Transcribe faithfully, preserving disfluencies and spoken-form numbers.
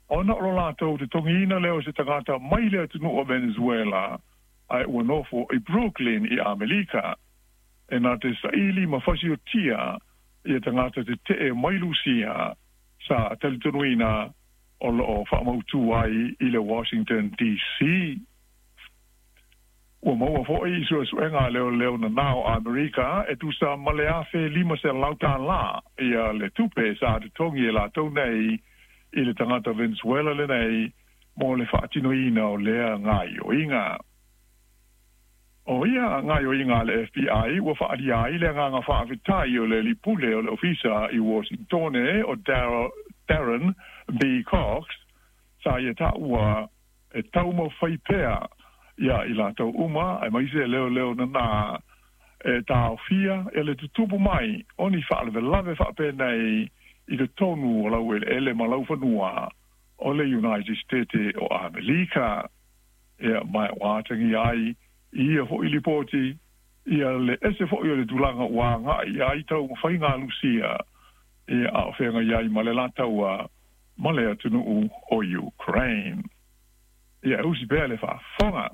Ona o lo latou totogiina lea o se tagata mai le atunuu o Venezuela ae ua nofo i Brooklyn i Amerika e na te saili ma fasiotia ia tagata tetee mai Lusia sa talitonuina o loo faamautu ai i le Washington D C. Ua maua foi i suesuega a leoleo nanao a Amerika e tusa ma le afe lima selau tālā ia le tupe sa totogi e latou nei i le tagata Venezuela lenei mo le faatinoina o lea gaioiga. O ia gaioiga a le F B I ua faaalia ai le agaga faafetai o le alii pule o le ofisa i Washingtone o Darren B. Cox sa ia taua e taumafai pea ia i latou uma aemaise leoleo nanā e taofia e le tutupu mai o ni faalavelave faapenei i totonu o laueleele ma laufanua o le United States o Amerika. Ia ma ua atagia ai ia fo'i lipoti ia le ese fo'i o le tulaga ua agai ai taumafaiga a Lusia ia a o feagai ai ma le la taua ma le atunuu o Ukraine. Ia usi pea le faafofoga.